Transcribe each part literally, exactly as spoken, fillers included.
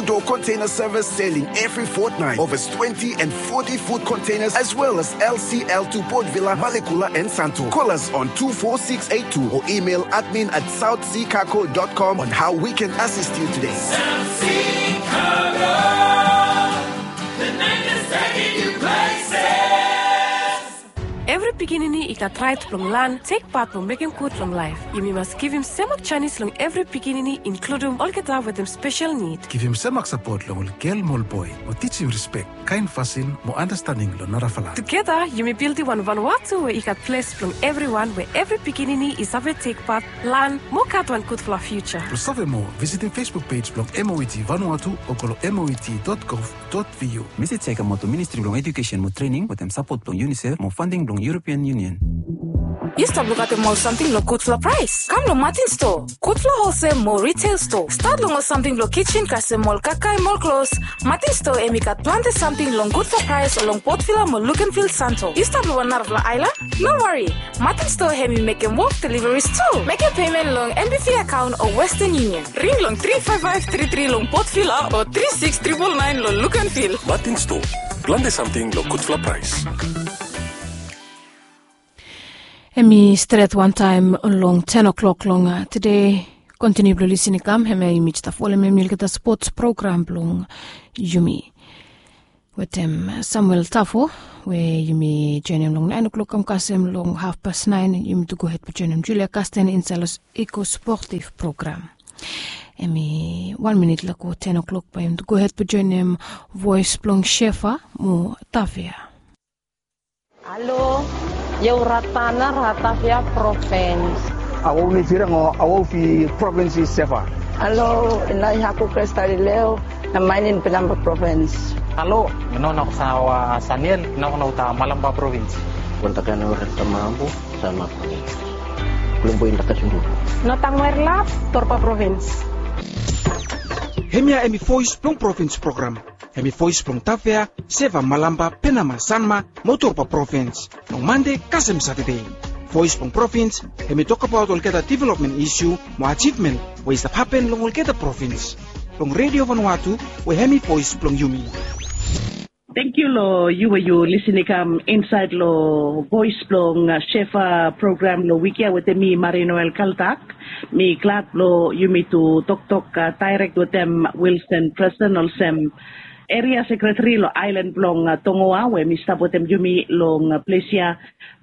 Door container service sailing every fortnight. Over twenty and forty foot containers, as well as L C L to Port Vila, Malekula, and Santo. Call us on two four six eight two or email admin at south sea cargo dot com on how we can assist you today. South Sea Cargo, the night is taking you places. Evri pikinini i gat rait blong laen tek pat blong mekem gud long laef. Yumi mas givim semak janis long evri pikinini, inkludim olgeta wetem spesel nid. Givim semak sapot long ol gel mo ol boe, mo tijim rispek, kaen fasin mo andastanding long narafala. Tugeta yumi bildim wan Vanuatu we i gat ples blong evriwan, we evri pikinini i save tek pat, laen mo gat wan gudfala fiuja. Blong save moa, visitim Facebook pej blong M O E T Vanuatu o go long M O E T dot gov dot V U. Mesej ya i kamaot long Ministri blong Ejukesen mo Trening wetem sapot blong UNICEF mo fanding blong European Union. Yu stap lukaotem ol samting long gudfala praes? Kam long Martin Store. Gudfala holsel mo retail store. Stat long ol samting blong kitchen kasem ol kakae mo ol klos. Martin Store hemi gat plante samting long gudfala praes long Port Vila mo Luganville, Santo. Yu stap long wan narafala aelan? No wari. Martin Store hemi mekem wok deliveries tu. Mekem pemen long NBV akaon o Western Union. Ring long tri faef faef tri tri long Port Vila o tri siks tripol naen long Luganville. Martin Store. Plante samting long gudfala praes. Hemi stret wantaem long ten o'clock long, a, tede. Kontiniu blong lisin i kam, hemia yumi stap folem hemi olgeta spots program blong yumi. Wetem Samuel Tafo, we yumi joenem long naen o'clock kam kasem long hafpas naen, yumi tu gohed blong joenem Julia Kasten insaed long Eko Sportif program. Hemi wan minit long go ten o'clock bae yumi tu gohed blong joenem voes blong Shefa mo Tafea. Halo, ia u Ratana, Ratafia provins. Awau ni firang o awau fi provins i Shefa. Halo, ina i Haku Krestal i Leo, na mainin Penamba provins. Halo, ina na ko sa wa Saniel, ina ko na uta Malamba provins. Kontakan o Ratamabu, sama provins. Kulumbu inda Kasundu. Notang Werlap, Torpa provins. Hemia hemi voes blong provins program. Hemi voes blong Tafea, Shefa, Malamba, Penama, Sanma mo Torpa provins. Long Mande kasem Satade. Voes blong provins hemi tokbaot olgeta developmen isiu mo ajivmen we i stap hapen long olgeta provins. Long Redio Vanuatu we hemi voes blong yumi. Tangkiu long yu we yu lisin i kam insaed long voes blong, a, Shefa program long wik ya wetem mi, Marie Noel Kaltak. Mi glad blong yumi tu toktok, a, daerek wetem Wilson Preston olsem eria sekretari long aelan blong, a, Tongoa, we hemi stap wetem yumi long, a, ples ya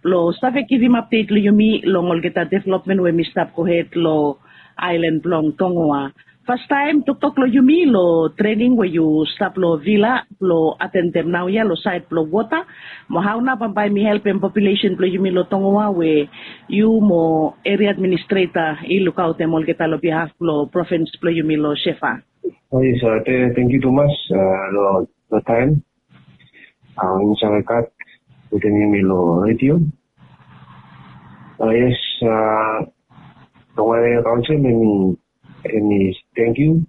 blong save givim apdet long yumi long olgeta developmen we hemi stap gohed long aelan blong Tongoa. Fastaem toktok long yumi long trening we yu stap long Vila blong atendem naoia long saed blong wota, mo hao nao bambae hemi helpem populesen blong yumi long Tongoa we yu mo eria administreta i lukaotem olgeta long bihaf blong provins blong yumi long Shefa. O yes, a, tangkiu tumas, a, long taem. A, yumi save gat wetem yumi long redio. A, yes, a, Tongoa Eria Kaonsel, hemi, hemi tangkiu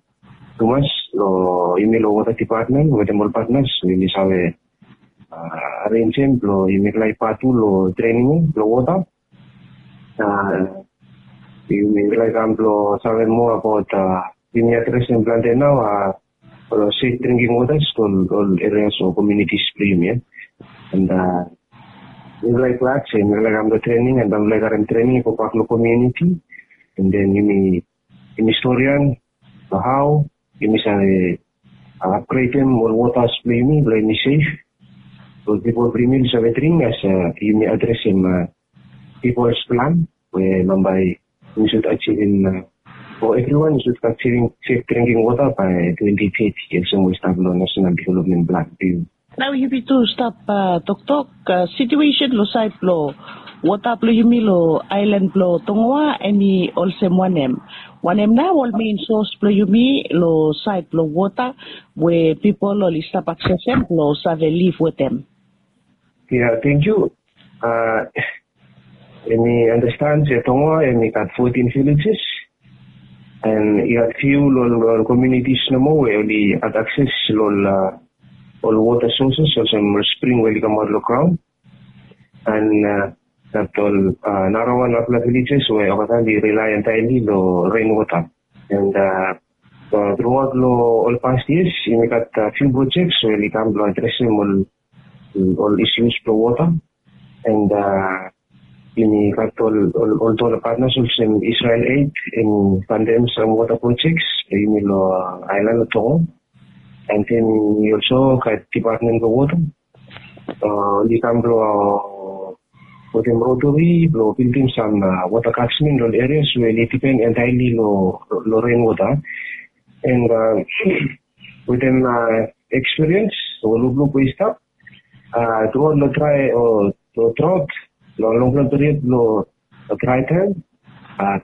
tumas long yumi long wota dipatmen wetem ol patnas we yumi save, a, arenjem blong yumi mekem laef patu long trening blong wota. A, yumi mekem laef kam blong save moa abaot, a, yumi adresem plante nao, a, ol sef dringking wotas long ol erias o komunitis blong yumi ya. And, a, yumi laek glad se yumi laek kam long trening, and yumi laek karem trening i gobak long komuniti. And then yumi, yumi storian long hao yumi save, a, apgredem ol wotas blong yumi blong yumi sef, blong pipol blong yumi oli save dring as, a, yumi adresem, a, pipol plan we bambae yumi sud ajivim, a, o evriwan i sud ajivim sef dringking wota bae twenti teti, olsem we i stap long Nasenal Developmen Plan blong yumi. Nao yumi tu stap, a, toktok, a, situesen long saed blong wota blong yumi long aelan blong Tongoa, hemi olsem wanem? Wanem nao ol mein sos blong yumi long saed blong wota we pipol oli stap aksesem blong save liv wetem? Ya, tangkiu. A, yumi andastan se Tongoa hemi gat fotin villages, and i gat fiu long ol komunitis nomo we oli gat akses long ol, a, ol wota soses olsem ol spring we oli kamaot long graon. And, a, gat ol, a, narawan narafala villages we olgeta oli rely entirely long rainwater. And, a, Truaot long ol past yias yumi gat fiu projek we oli kam blong adresim ol ol isus blong wota. And yumi gat ol ol ol partners olsem Israel Aid in fundem sam wota projek blong yumi long aelan long Tonga. And then yumi olso gat depatmen blong wota, oli kam blong wetem rotari blong bildim sam wota katsmen long ol erias we oli dipen entaeli long ren wota. And wetem ekspiriens o lukluk we i stap, truaot long drae o traot, long longpela period long drae taem,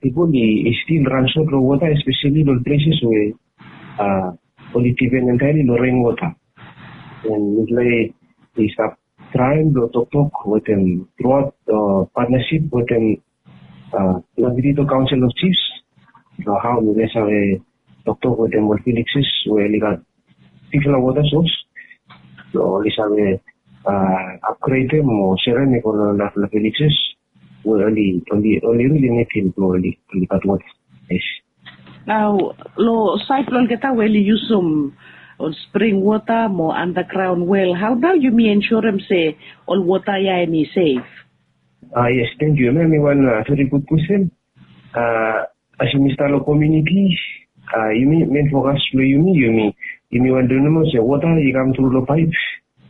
pipol i stil ransot long wota, espeseli long ol pleses we oli dipen entaeli long ren wota. And mipela i stap traem blong toktok wetem truaot patnasip wetem Labirito Kaonsel of Jifs, long hao mipela save toktok wetem ol villages we oli gat bigfala wota sos, long oli save apgredem o serem i go long narafala villages we oli oli oli rili nidim blong oli oli gat wota. Yes. Nao long saed blong olgeta we oli yusum ol spring wota mo andagraon wel, hao nao yumi ensurem se ol wota ya em i sef? Ah, yes, thank you. Em i wan very good question. As yumi stap long komuniti, yumi men fokas blong yumi, yumi yumi wantem nomo se wota i kam tru long paep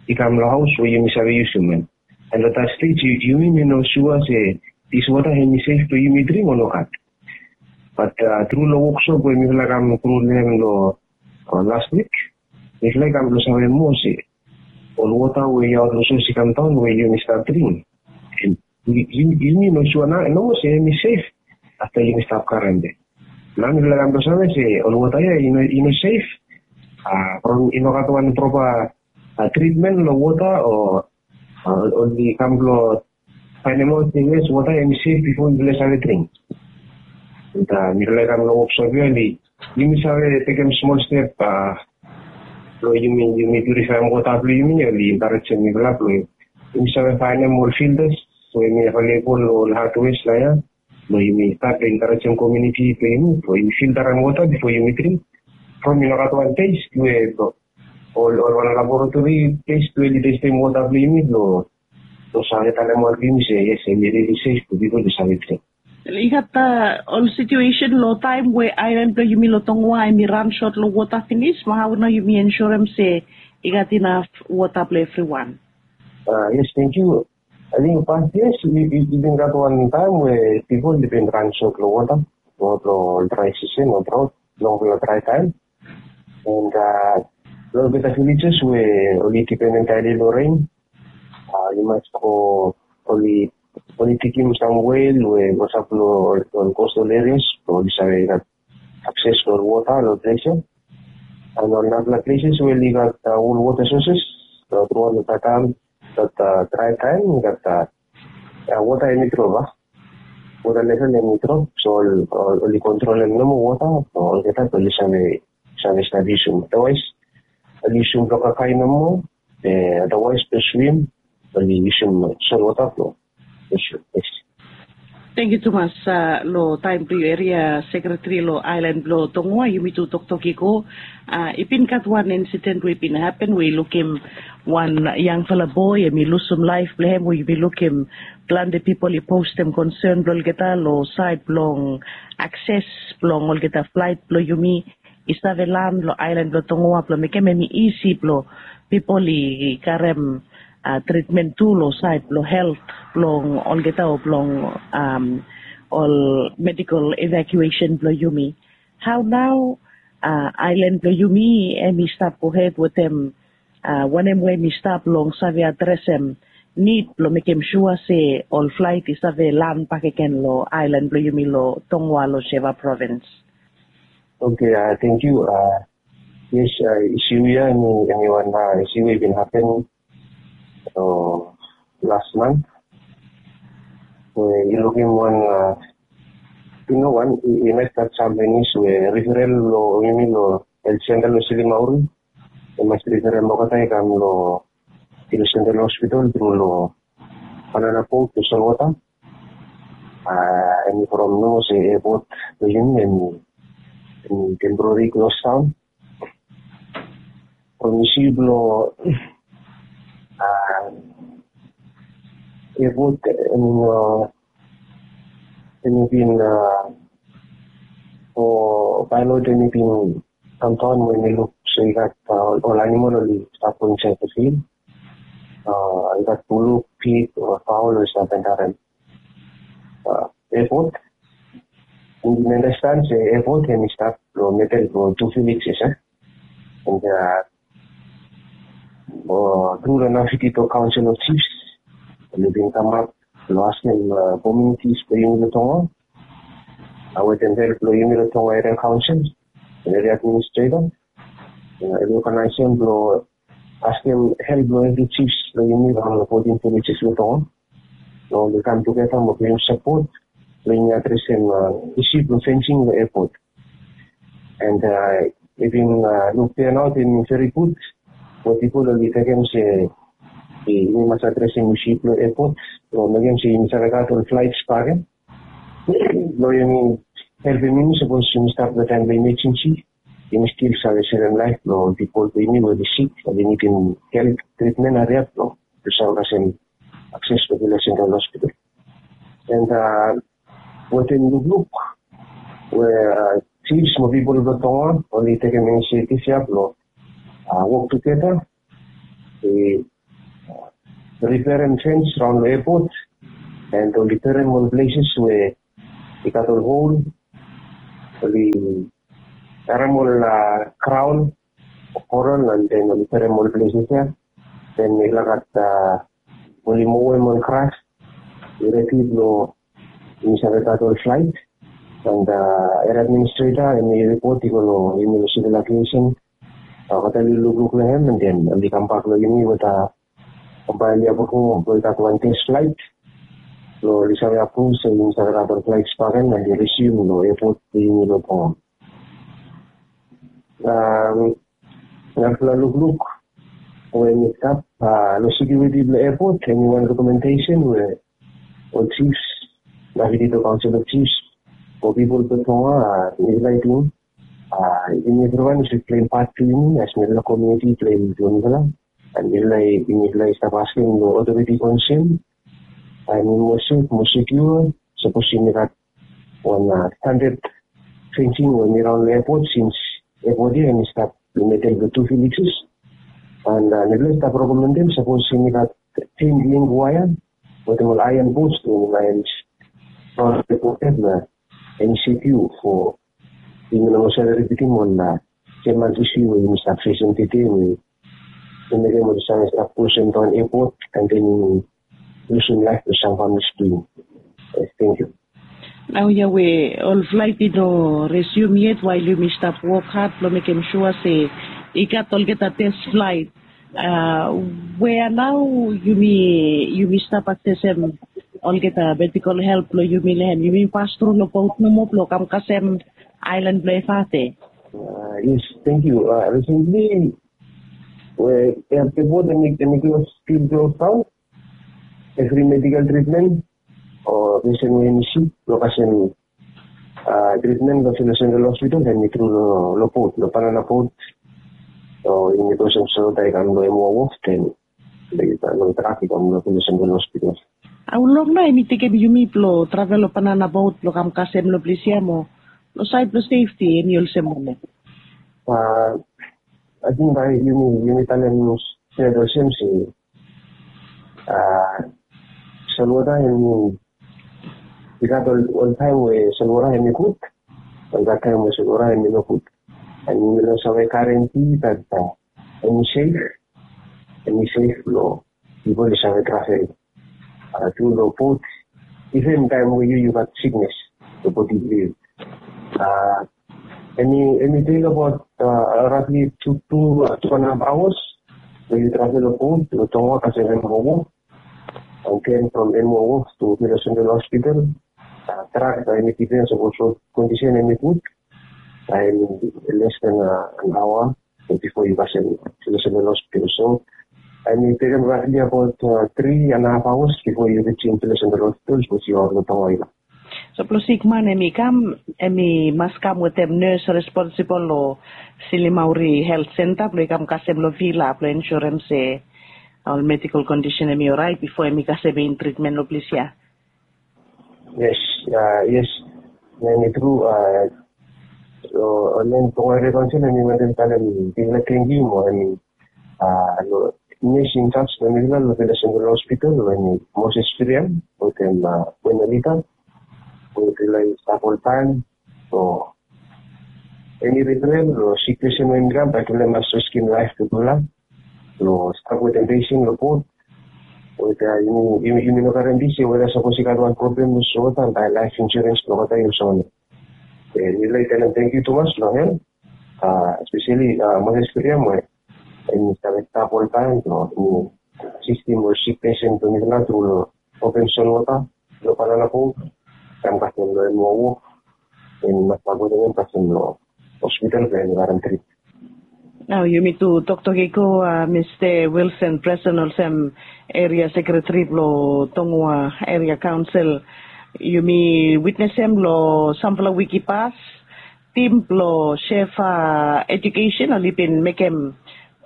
i kam long haos we yumi save yusum em. And long that stage yumi mi no sua se dis wota em i sef blong yumi dring o nogat. Bat tru long woksop we mifala i kam tru long hem long last wik, mifala i kam blong save moa se ol wota we i aot long sos i kam daon we yumi stap dring, yumi no sua nomo se em i sef afta yumi stap karem. Nao mifala i kam blong save se ol wota ya i no sef from i no gat wan propa tritmen long wota o oli kam blong faenemaot se yes, wota em i sef bifo mifala i save dring. And mifala i kam long woksop ya, oli yumi save tekem smol step blong yumi yumi purifaem wota blong yumi, oli enkarejem mifala blong yumi save faenem ol filtas we em i avelebol long ol hadwes long ya, blong yumi stat blong enkarejem komuniti blong yumi blong yumi filtarem wota bifo yumi dring. From i no gat wan test we ol ol wan laboratori test we oli testem wota blong yumi blong blong save talem ol blong yumi se yes, em i rili sef blong pipol i save dring. I gat ol situesen long taem we aelan blong yumi long Tongoa em i ransot long wota finis, mo hao nao yumi ensurem se i gat inaf wota blong evriwan? Yes, thank you. Ating past years i bin gat wan taem we pipol i bin ransot long wota long ol drae sisen o draot, longfala drae taem. And long olgeta villages we oli dipen entaeli long ren, i mas go oli oli digim sam wel we go sap long ol coastal areas blong oli save gat akses long ol wota long ples ya. And ol narafala places we oli gat ol wota sources long truaot long taem, gat drae taem, gat wota em i drop a wota level em i drop, so oli kontrolem nomo wota blong olgeta blong oli save save stap yusum. Otherwise oli yusum blong kakae nomo, otherwise blong swim oli yusum solwota blong yusum. Yes. Tangkiu tumas long taem blong yu, eria sekretari long aelan blong Tongoa. Yumi tu toktok i go, i bin gat wan insiden we i bin hapen we i lukim wan yangfala boe em i lusum laef blong hem, we yumi lukim plante pipol i postem konsen blong olgeta long saed blong akses blong olgeta flaet blong yumi i save lan long aelan blong Tongoa blong mekem em i isi blong pipol i karem tritmen tu long saed blong helt blong olgeta o blong ol medikol evakuesen blong yumi. Hao nao aelan blong yumi em i stap gohed wetem wanem we em i stap long save adresem nid blong mekem sua se ol flaet i save lan bakegen long aelan blong yumi long Tongoa long Sheva provins? Oke, tangkiu. Yes, isiu ya em i wan isiu we i bin hapen las man we i lukim wan i no wan i mas stat sam finis we riferel long yumi long helt senta long Silimauri. I mas riferel olgeta i kam long Hills Dental Hospital tru long banana boat long solwota. Em i from nomo se epot blong yumi em i Temporary close down. From isi blong airport, I mean, uh, hemi bin, uh, o pilot hemi bin kam daon mo hemi luk se i gat, uh, ol animal oli stap go insaed long field. Uh, i gat buluk, pig o faol oli stap antap long, uh, airport. And mi understand se airport hemi stap long medel blong tu villages, eh? And, uh, tru long Naypyidaw Council of Chiefs, oli bin kamap long askem, uh, communities blong yumi long Tonga, uh, wetem help blong yumi long Tonga Area Council and Area Administrator, uh, oli organise blong askem help blong evri chiefs blong yumi long fotin villages long Tonga, blong oli kam tugeta mo givim sapot blong yumi adresem, uh, isi blong fencing long airport. And, uh, i bin, uh, luk turnout i bin very good. Mo pipol oli tekem se yumi mas adresem isi blong airport blong mekem se yumi save gat ol flights bakegen blong yumi helpem yumi sapos yumi stap long taem blong emergency, yumi stil save sevem laef blong pipol blong yumi we oli sik, oli nidim help, treatment, hariap blong oli save kasem akses long Village Central Hospital. And, uh, wetem lukluk we, uh, chiefs mo pipol blong Tonga oli tekem inisiativ ya blong, uh, wok tugeta, i, uh, riperem fens raon long airport, and oli perem ol places we i gat ol hol, oli perem ol, uh, graon o koral, and then oli perem ol places ya. Then i laik gat, uh, oli mowem ol gras, i redi blong yumi save gat ol flight. And, uh, Area Administrator hemi ripot i go long yumi long Civil Aviation. Uh, olgeta oli lukluk long hem, and then oli kambak long yumi wetem, uh, kambak long yumi blong i gat wan test flight blong oli save approve se yumi save gat ol flights bakegen and oli resume long airport blong yumi long Tonga. Um, narafala lukluk we mi stap, uh, long security blong airport, hemi wan recommendation we ol chiefs, Naypyidaw Council of Chiefs, o pipol blong Tonga, uh, mifala i ting, uh, yumi evriwan i should play part blong yumi as mifala, community play blong mifala. And mifala i, mifala i stap askem long authority concern, uh, hemi moa sef, moa secure, sapos yumi gat wan, uh, standard fencing we hemi raon long airport, since airport ya hemi stap long medel blong tu villages. And, uh, mifala i stap recommendem sapos yumi gat chain link wire wetem ol iron post we hemi laen raon long airport ya, hemi secure for yumi no moa save ripitim wan, uh, sem wan issue we yumi stap fesem tede we i mekem oli save stap klosem daon airport and then yumi lusum laef blong sam families tu. Yes, thank you. Naoia we ol flight i no resume yet, while yumi stap wok had blong mekem sua se i gat olgeta test flight. Uh, wea nao yumi, yumi stap aksesem olgeta medical help blong yumi long hem? Yumi pas tru long bot nomo blong kam kasem aelan blong Efate? Uh, yes, thank you. Uh, recently, we, airport hemi, hemi close, still close down. Evri medical treatment o patient we hemi sik blong kasem, uh, treatment long Village Central Hospital, hemi tru long, long bot, long Banana Boat. So yumi klosem so taem i kam long M O wharf, then long traffic i kam long Village Central Hospital. Hao long nao hemi tekem yumi blong travel long Banana Boat blong kam kasem long ples ya mo long saed blong safety hemi olsem wanem? Uh, ating bae yumi, yumi talem stret olsem se, uh, solwota hemi, i gat ol, ol taem we solwota hemi gud, i gat taem we solwota hemi nogud. And yumi no save guarantee that, uh, hemi safe, hemi safe blong pipol i save travel, uh, tru long bot, iven taem we yu, yu gat siknes long bodi blong yu. Uh, hemi, hemi tek abaot, uh, roughly tu, tu, uh, tu and a haf aoas blong yu travel long bot long Tonga kasem M O wharf. And then from M O wharf to Village Central Hospital, uh, trak bae hemi dipens long kondisen hemi gud, bae hemi less than, uh, an aoa bifo yu kasem Village Central Hospital. So hemi tekem roughly abaot, uh, tri and a haf aoas bifo yu rijim Village Central Hospital, sapos yu long Tonga ya. So blong sikman hem i kam, hem i mas kam wetem nes responsibol long silimauri helt senta blong i kam kasem long vila blong ensurem se ol medikal kondisen hem i orait bifo hem i kasem in tritmen long ples ya. Yes, yes. Hem i tru. Ol len tonga eria kaunsil hem i wantem talem bigfala tengiu mo hem i no, yes, in charge blong mifala long Village Central Hospital, we hem i Moses Firiam wetem Wenelita we mifala i stap oltaem. So eni rifrel long sik pesen we hem i kam, bae mifala i mas riskim laef blong mifala long stap wetem pesen long bot. Weta yumi no karem pis, weta sapos i gat wan problem long wota, bae laef insurens blong wota i olsem wanem. Mifala i talem tengiu tumas long hem, espeseli Moses Firiam we hem i save stap oltaem blong asistim ol sik pesen blong mifala tru long opem solwota long banana boat, kam kasem long hem long wok, hem i mas stap wetem hem kasem long hospital blong hem i karem trit. Nao yumi tu toktok i go, Mista Wilson Preson olsem eria sekreteri blong Tongoa Eria Kaunsil. Yumi witnesem long samfala wik i pas, tim blong Shefa Education oli bin mekem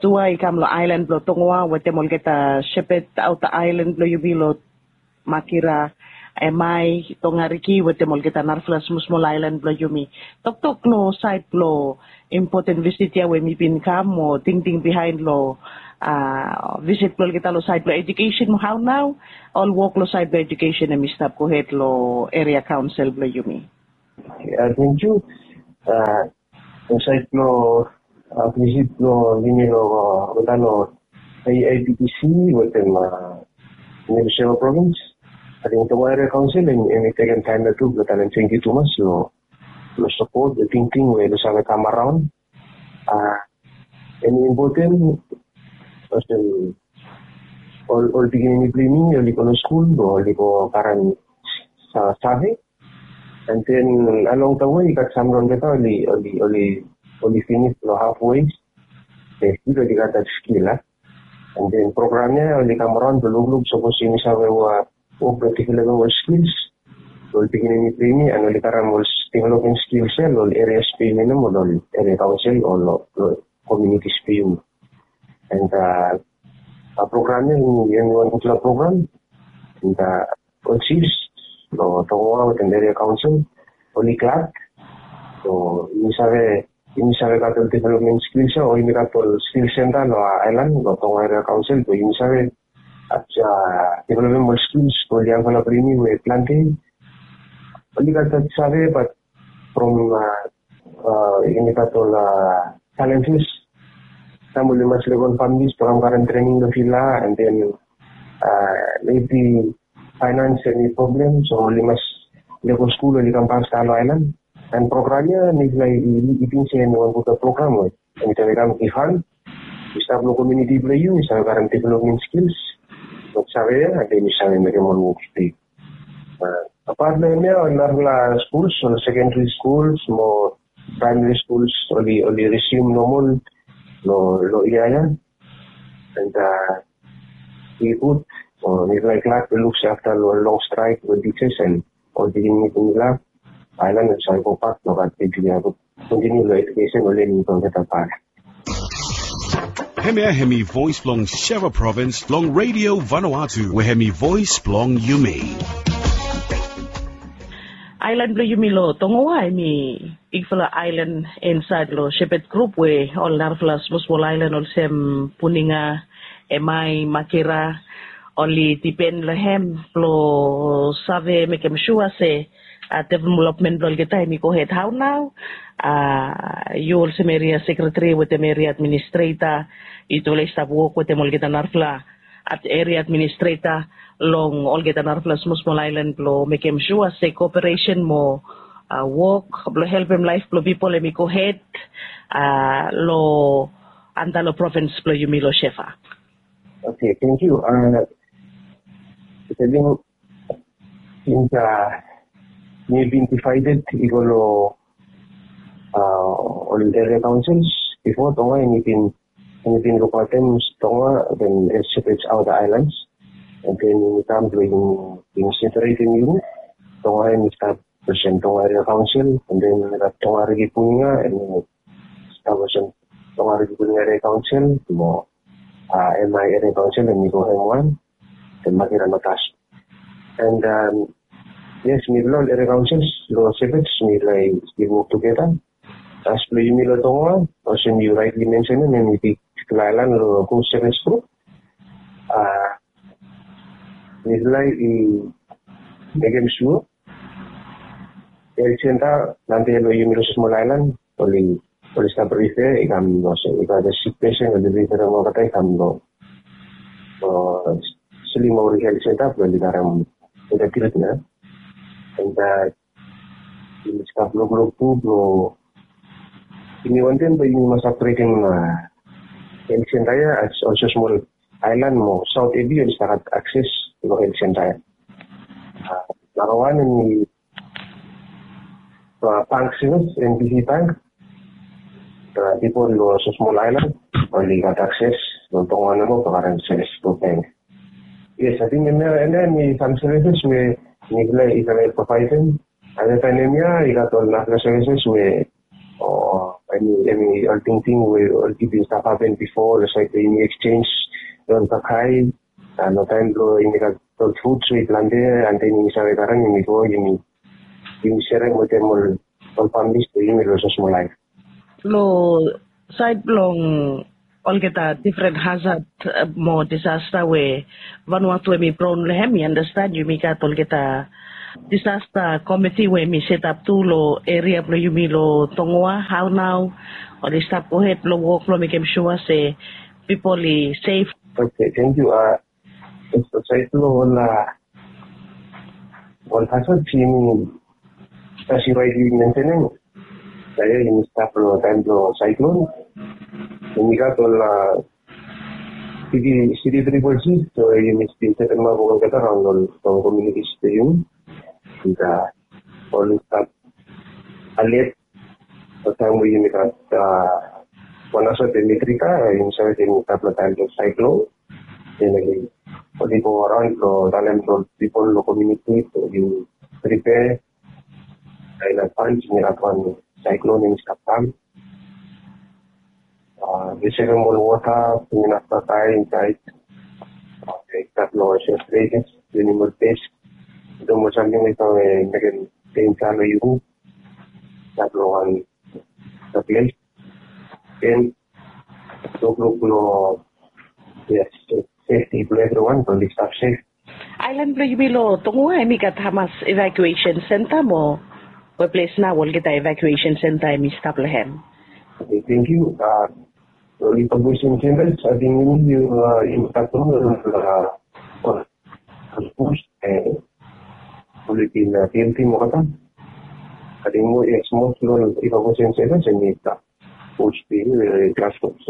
tua i kam long aelan blong Tongoa wetem olgeta Shepherd Outer Island blong yumi long Makira, Emai, Tongariki wetem olgeta narafala smosmol aelan blong yumi. Toktok long saed blong impoten visit ya we mi bin kam mo tingting bihaen long visit blong olgeta long saed blong edukesen mo hao nao ol wok long saed blong edukesen hem i stap gohed long eria kaonsel blong yumi. Tengiu. Long saed blong visit blong yumi long olgeta long AIPTC wetem New South Wales provins, ating Tonga Eria Kaonsel hem i tekem taem ya tu blong talem tengiu tumas long sapot, long tingting we long save kam araon. Hem i impoten olsem ol pikinini blong yumi oli go long skul, oli go karem save. And then along the way i gat sam long olgeta oli finis long halfway. Be stil oli gat that skill a. And then program ya oli kam araon blong lukluk sapos yumi save wok blong developem ol skills blong ol pikinini blong yumi, and oli karem ol development skills ya long ol areas blong yumi nomo, long ol area council o long communities blong yumi. And program ya hem i wan gudfala program. And ol chiefs long Tongoa wetem eria kaonsel oli glad. So yumi save, yumi save gat ol development skills ya, o yumi gat ol skills center long aelan long Tongoa Eria Kaonsel, so yumi save developem ol skills blong ol yangfala blong yumi we plante oli gat that save, but from yumi gat ol challenges. Sam oli mas lego ol families blong kam karem trening long vila, and then maybe finance hem i problem, so oli mas lego skul, oli kam faster long aelan. And program ya mifala i ting se hem i wan gudfala program we hem i save kam givhan. Yu stap long komuniti blong yu, yu save karem development skills, yu save ya, and then yu save mekem ol wok blong yu. Apat long hem ya ol narafala skuls, ol secondary schools mo primary schools oli, oli resume normal long, long yia ya. And i gud. Mifala i glad blong luk se afta long long strike blong teachers and ol pikinini blong mifala, aelan hem save gobak long gat blong yumi kontiniu long edukesen o lening blong olgeta pat. Hemia hem i voes blong Sheva Provins long Radio Vanuatu, we hem i voes blong yumi. Aelan blong yumi long Tongoa hem i bigfala aelan insaed long Shepherd Group, we ol narafala smosmol aelan olsem Puninga, Emai, Makira, oli dipen long hem blong save mekem sua se developmen blong olgeta hem i gohed. Hao nao yu olsem eria sekreteri wetem eria administreta, yutufala i stap wok wetem olgeta narafala eria administreta long olgeta narafala smosmol aelan blong mekem sua se koperesen mo wok blong helpem laef blong pipol hem i gohed long anda long provins blong yumi long Shefa. Oke, tengiu. Sins mi bin divaeded i go long ol eria kaonsels bifo, Tonga hem i bin, hem i bin lukaotem Tonga, then Shepherd's Outer Islands. And then yumi kam blong yumi separetem yumi. Tonga hem i stap olsem Tonga Area Council, and then we got Tonga Riki Puninga, and then stap olsem Tonga Riki Puninga Area Council, mo uh, M I Area Council, and we go M one, then Makira Matas. And um, yes, mi lo Area Councils, lo Shepherds, mi like we work together. As lo yumi lo Tonga, olsem you rightly mentioned, and we big island lo Coast Shepherds group. Uh, mi like i mekem sure health center namba lo yumi lo small island, oli oli stap refer i kam lo se i gat a sick patient oli refer olgeta i kam lo lo Slim Maori Health Center blo oli karem olgeta treatment. And uh, yumi stap lo group tu blo yumi wantem blo yumi mas upgradem uh, health center ya as also small island mo South A B oli stap gat access lo health center ya. Uh, namba wan yumi uh, bank service, N B C Bank. Uh, people lo small island oli gat access lo Tonga nomo blo karem service lo bank. Yes, I think and then some services we mi kila i kala provide them. And then time ya i gat ol nafla services we o eni eni ol tingting we ol people stap happen before, lo sait we yumi exchange lo kakai, and lo taim blo yumi gat ol fruits we i plante, and then yumi save karem yumi go yumi yumi serem wetem ol ol families blo yumi lo small life. Lo sait blong olgeta different hazard uh, mo disaster we Vanuatu we mi brown lo hem, mi understand yumi gat olgeta disaster committee we mi set up tu lo area blo yumi lo Tongoa. How now? Oli stap go ahead lo work lo mekem sure se people i safe. Okay, thank you. Uh, Sait lo ol ol hazard yumi as you rightly mentioning. Saya yumi stap lo taim blo cyclone. Yumi gat ol city city triple C, so yumi stil setem ap olgeta raon ol communities blo yumi. And uh, ol stap alert. Lo taim we yumi gat wan asot e Mitrika, yumi save se yumi stap lo taim blo cyclone. Then oli go around lo talem lo people lo community blo yu prepare. Ai na pan yumi gat wan cyclone yumi stap kam. Yu sevem ol wota, yumi na stap ai inside. Stap lo shelter places, yumi ol base. Dum ol samting we i mekem danger lo yu. Stap lo wan ples. Then lukluk lo yes, safety blo everyone blo oli stap safe. Island blo yumi lo Tongoa hemi gat hamas evacuation center mo we ples nao olgeta evacuation center hemi stap lo hem? Okay, thank you. Uh, evacuation center, I think yumi uh, yumi gat uh, push eh, oli bin uh, T M T mo kata. I think mo yes, most lo evacuation center hemi stap push the uh, classrooms.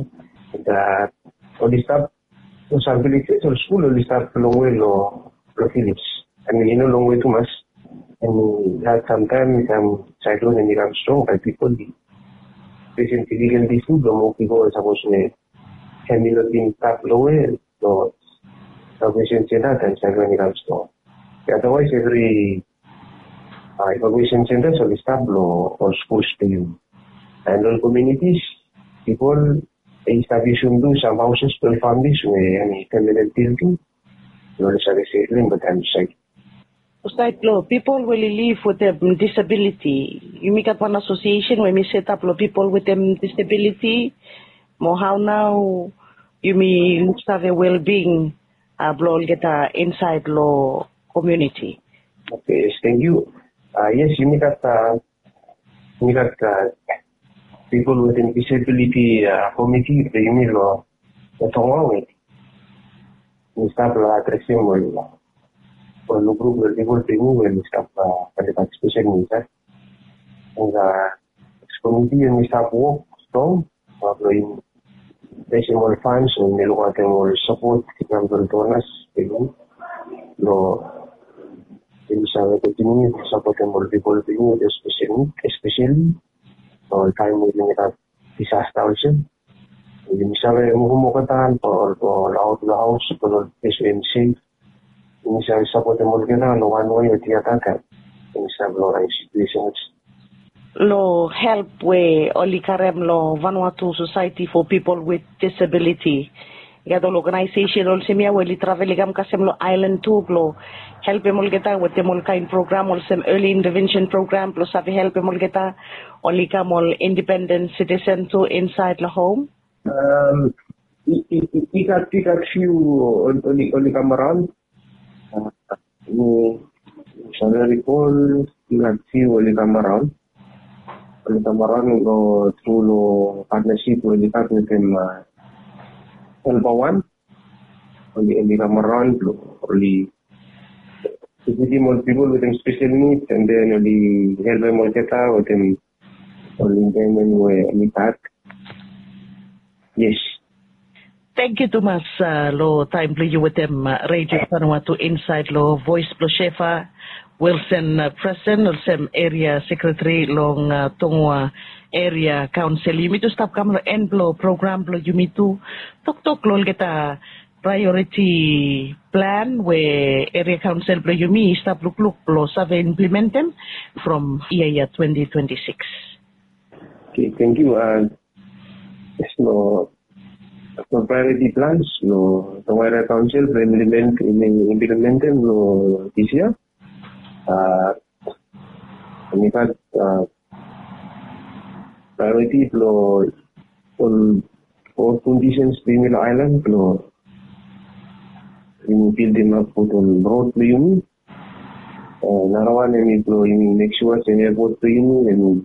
And uh, oli stap Lo sam villages ol skul oli stap longwe lo lo village. I mean i no longwe tumas. And that sometime sam cyclone hemi kam strong bae pipol i fesem difficulty tu blo move bifo sapos we hemi no bin stap longwe lo salvation center taem cyclone i kam strong. Otherwise evri evacuation centers oli stap lo ol skuls blo yumi. And ol communities pipol i stap yusum tu sam houses blo ol families we hemi permanent building. Blo oli save sefli long taem i saed. Osaed blo pipol we oli liv wetem disability, yumi gat wan association we mi setap lo pipol wetem disability. Mo hao nao yumi luksave wellbeing blo olgeta insaed lo community? Okay, yes, thank you. Yes, yumi gat Mi gat pipol wetem disabiliti komiti blo yumi lo Tonga we mi stap lo adresem ol ol grup blo pipol blo yumi we mi stap lo patisipet insaed. Long dis komiti we mi stap wok strong blo yumi Besem ol fans we mi lukaotem ol sapot i kam from donors blo yumi save kontiniu sapotem ol pipol blo yumi espeseli espeseli ol taem we yumi gat disasta olsem. Yumi save muvum olgeta ol aot long haos ol ples we yumi sef. Yumi save sapotem olgeta long wan wei o diada taem. Insait long ol situations. Long help we oli karem long Vanuatu Society for People with Disability. I gat ol organization olsem ia we oli travel i kam kasem long island tu blong helpem olgeta wetem ol kain program olsem early intervention program blong save helpem olgeta oli kam ol independent citizen tu insait long home. Um, i, i, i, i gat i gat few oli oli kam around. Uh, no, salary call, i gat few oli kam around. Oli kam around go through lo partnership oli gat with them, uh, Helper One. Oli oli kam around lo oli visitim ol people with them special needs and then oli helpem olgeta with them ol environment we oli gat. Yes. Thank you tumas uh, lo taim blong yu wetem uh, Radio Vanuatu inside lo Voice blong Shefa. Wilson uh, Presen olsem area secretary long uh, Tongua Area Council. Yumi tu stap kam lo en blong program blong yumi tu toktok lo olgeta priority plan we area council blong yumi i stap lukluk blong save implementem from ia ia twenty twenty-six. Okay, thank you. Uh, Yes, lo lo priority plans lo Tonga Area Council blong implement implementem lo this year. Uh, and in fact, uh, priority lo ol ol conditions blong yumi lo island lo yumi building up with ol road blong yumi. Uh, another one yumi lo yumi make sure se airport blong yumi yumi